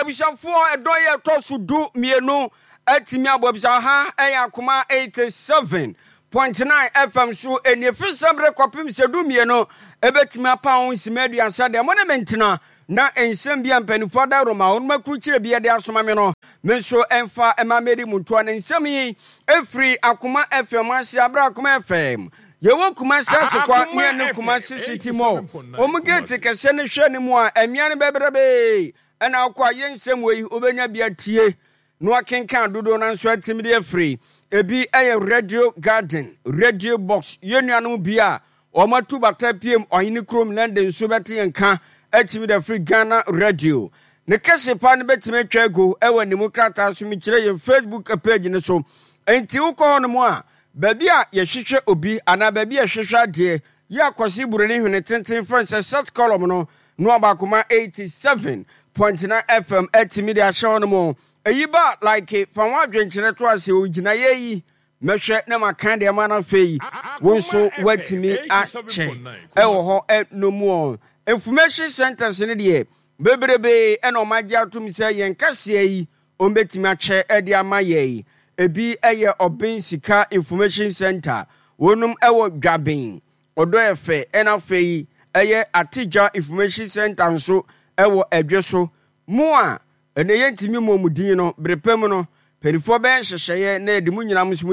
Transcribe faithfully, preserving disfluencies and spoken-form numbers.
Abusuafoɔ, ɛdɔn yɛ ɛtɔ so du mmienu atumi abɔ abisa ha. Ɛyɛ Akoma eighty-seven point nine F M so. Ɛnie firi sɛmberɛ kɔpem sɛ du mmienu ɛbɛtumi apa ho nsima aduasa deɛ mo ne me ntena na nsɛm bi a mpanimfoɔ adaworoma wɔn akrukyire bi de asoma me no, me nso ɛmfa ɛma mɛdi mu ntoa ne nsɛm yi ɛfiri Akoma F M ase. Aberɛ Akoma F M yɛwɔ Kumase Asokwa ne ɛne Kumase City Mall wɔn gate kɛseɛ no hwɛ ne mu a ɛmea no bɛbrɛbee ɛna akɔ a yɛ nsɛm wɔ yi wobɛnya bi atie na wakenkan dodoɔ no nso atumi de afiri. Ebi yɛ Radio Garden, Radio Box. Yɛn nuanom bi a wɔn atu bata piem ɔhene kurom London nso bɛte yɛn ka atumi de afiri Ghana Radio ne kɛse pa no bɛtumi atwa agu ɛwɔ animu krataa so. Mekyerɛ yɛn Facebook page no so, nti wokɔ hɔ nom a, baabi a yɛhwehwɛ obi anaa baabi a yɛhwehwɛ adeɛ yi akɔse buroni hwene tenten fɛn sɛ search column no no Abaakoma eighty-seven point nine F M atumi de ahyɛ hɔ nom. Eyi ba like fa ho adwenkyerɛ to ase o gyinaeɛ yi mɛhwɛ na maka deɛ ma no. Afei wo nso woatumi akyɛ ɛwɔ hɔ ɛno mu ɔ information centers no deɛ bebrebe ɛna ɔmo agye atom sɛ yɛn kaseɛ yi ɔmbɛtumi akyɛ ɛde ama yɛn. Ebi ɛyɛ Ɔbɛn Sika Information Center, wɔnom ɛwɔ Dwaben Ɔdɔ Ɛfɛ, ɛna afei ɛyɛ Ategya Information Center nso ɛwɔ Ɛdwe so. Mu a ɛnɛ yɛntumi mmɔ mu din no, bere pɛ mu no mpanimfoɔ bɛyɛ nhyehyɛeɛ na yɛde mu nyinaa nso mu